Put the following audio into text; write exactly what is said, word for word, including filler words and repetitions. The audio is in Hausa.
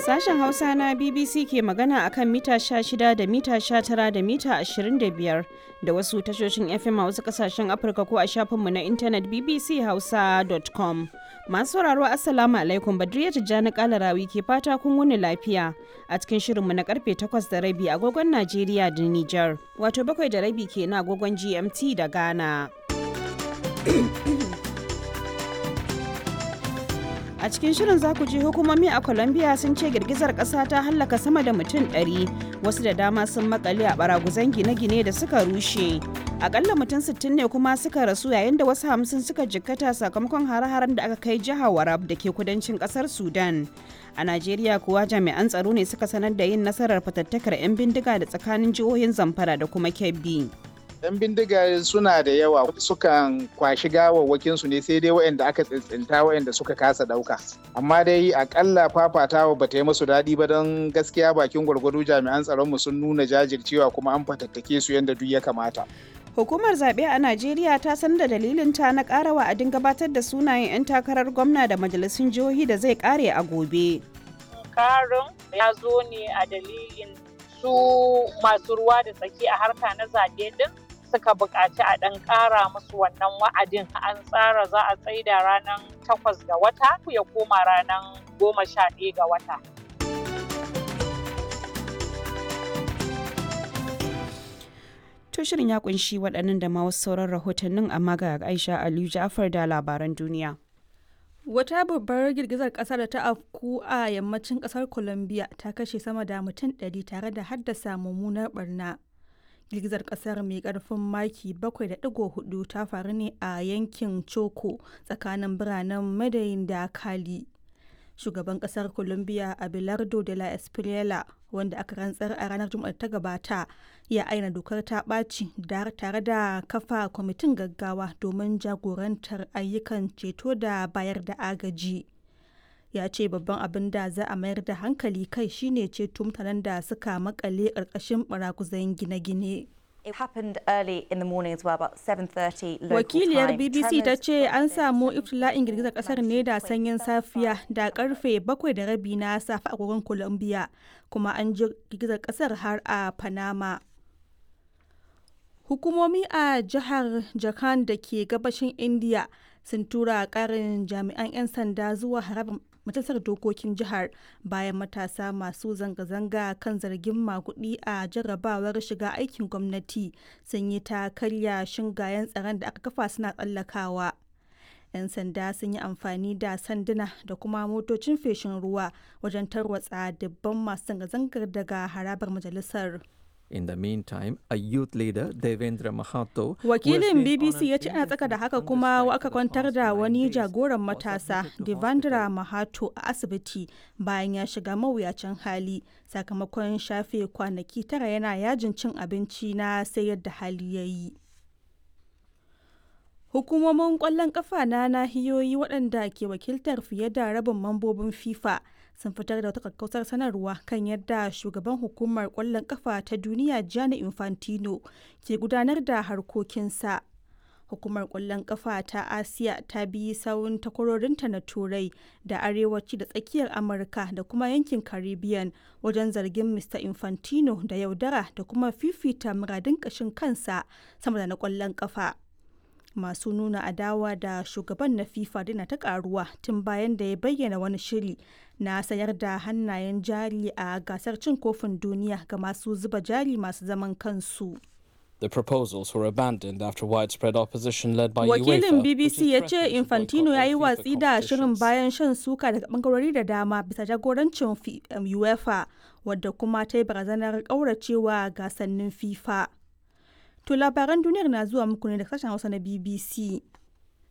Sashen Hausa na B B C ke magana akan mita sha shida da mita sha tara da mita ashirin da biyar da wasu tashoshin F M a wasu kasashen Afirka ko a shafinmu na intanet B B C hausa dot com. Masu sauraro, Assalamu alaikum, Badriya Tijjani Kalarawi ke fata kun wuni lafiya a cikin shirinmu na karfe takwas da rabi agogon Najeriya da Nijar. Wato bakwai da rabi ke na agogon G M T da Ghana. A cikin shirin za ku ji hukumomi a Colombia sun ce girgizar ƙasa ta hallaka sama da mutum ɗari, wasu da dama sun makale a baraguzan gine-gine da suka rushe. Akalla mutum sittin ne kuma suka rasu yayin da wasu hamsin suka jikkata sakamakon hare-haren da aka kai jihar Warab da ke kudancin ƙasar Sudan. A Najeriya kuwa, jami'an tsaro ne suka sanar da yin nasarar fatattakar 'yan bindiga da tsakanin jihohin Zamfara da kuma Kebbi. 'Yan bindiga suna da yawa, sukan kwashi gawawwakin su ne, sai dai waɗanda aka tsintsinta, waɗanda suka kasa ɗauka. Amma dai akalla fafatawa ba ta yi musu daɗi ba, don gaskiya bakin gwargwado jami'an tsaron mu sun nuna jajircewa kuma an fatattake su yadda duk ya kamata. Hukumar zaɓe a Najeriya ta sanar da dalilin ta na ƙara wa'adin gabatar da sunayen 'yan takarar gwamna da majalisun jihohi da zai ƙare a gobe. Karin ya zo ne a dalilin su masu ruwa da tsaki a harka na zaɓe ɗin suka buƙaci a ɗan ƙara musu wannan wa'adin. An tsara za a tsaida ranar takwas ga wata, ya koma ranar goma sha ɗaya ga wata. To, shirin ya kunshi waɗannan da ma wasu sauran rahotannin, amma ga Aisha Aliyu Ja'far da labaran duniya. Wata babbar girgizar ƙasa da ta afku a yammacin ƙasar Colombia ta kashe sama da mutum ɗari tare da haddasa mummunar barna. Girgizar ƙasar mai ƙarfin maki bakwai da ɗigo huɗu ta faru ne a yankin Choco tsakanin biranen Medellin da Cali. Shugaban ƙasar Colombia Abelardo de la Espriella, wanda aka rantsar a ranar Juma'ar ta gabata, ya aina dokar ta ɓaci tare da kafa kwamitin gaggawa domin jagorantar ayyukan ceto da bayar da agaji. Ya ce babban abin da za a mayar da hankali kai shine ceto mutanen da suka makale ƙarƙashin baraguzan gine-gine. Wakiliyar B B C ta ce an samu iftila'in girgizar kasar ne da sanyin safiya da karfe bakwai da rabi na safe agogon Colombia, kuma an ji girgizar kasar har a Panama. Hukumomi a jihar Jharkhand da ke gabashin India sun tura karin jami'an 'yan sanda zuwa harabar majalisar dokokin jihar bayan matasa masu zanga-zanga kan zargin magudi a jarrabawar shiga aikin gwamnati sun yi ta karya shingayen tsaron da aka kafa suna tsallakawa. 'Yan sanda sun yi amfani da sanduna da kuma motocin feshin ruwa wajen tarwatsa dubban masu zanga-zangar daga harabar majalisar. In the meantime, a youth leader, Devendra Mahato, Wakilin B B C ya ce ana tsaka da haka kuma aka kwantar da wani jagoran matasa, Devendra Mahato, a asibiti bayan ya shiga mawuyacin hali sakamakon shafe kwanaki tara yana yajin cin abinci na sai yadda hali ya yi. Hukumomin kwallon kafa na nahiyoyi waɗanda ke wakiltar fiye da rabin mambobin FIFA sun fitar da wata kakkausar sanarwa kan yadda shugaban hukumar kwallon kafa ta duniya Gianni Infantino ke gudanar da harkokinsa. Hukumar kwallon kafa ta Asiya ta bi sawun takwarorinta na Turai da Arewaci da Tsakiyar Amurka da kuma yankin Caribbean wajen zargin Mister Infantino da yaudara da kuma fifita muradun kashin kansa sama da na kwallon kafa. Masu nuna adawa da shugaban na FIFA dina ta karuwa tun bayan da ya bayyana wani shiri na sayar da hannayen jari a gasar cin kofin duniya ga masu zuba jari masu zaman kansu. The proposals were abandoned after widespread opposition led by Wakilin UEFA, B B C ya ce Infantino ya yi watsi da shirin bayan shan suka daga bangarori da dama bisa jagorancin UEFA, wadda kuma ta yi barazanar kauracewa gasannin FIFA. To, labaran duniyar na zuwa muku ne da sashen Hausa na B B C.